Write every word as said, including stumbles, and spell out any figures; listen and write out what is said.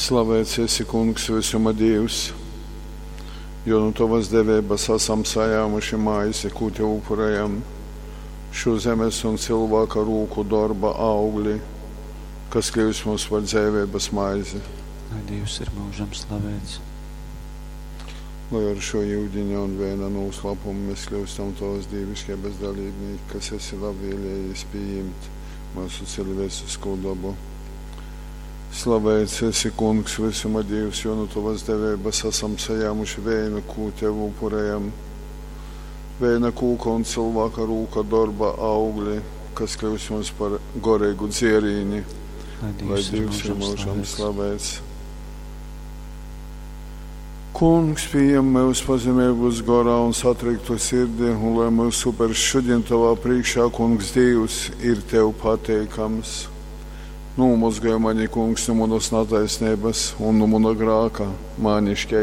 Slavēts esi, Kungs, vysuma Dīvs, jo nu tovas deveibas asam sajāmuši maizi, kū tev upurējam, šo zemes un cylvāka rūku dorba augli, kas kļūst mums par dzeiveibas maizi. Lai Dīvs ir myužam slavēts. Lai ar šo yudiņa un vēna noslēpumu mēs kļūstam tavas dīviškeibas dalībnieki, kas esi labvēlējies pieņemt mūsu cilvēcisko dabu. Slavēts esi, Kungs, visuma Dievs, jo nu tavas deveibas esam sajāmuši vēnu, kū tev upurējam. Vēna kūka un cilvēka rūka dorba augli, kas kļūs mums par gorīgu dzierīni. Lai Lai Dīvs ir Dievs ir mūžam mūžam slavēts. slavēts. Kungs, pieņem mūs pazemīgus gorā un satriktu sirdi, un lai mūsu upers šodien tavā priekšā, Kungs, Dievs, ir tev pateikams. Nomazgāj mani, Kungs, no manas netaisnības un no mana grāka, mani šķeistī.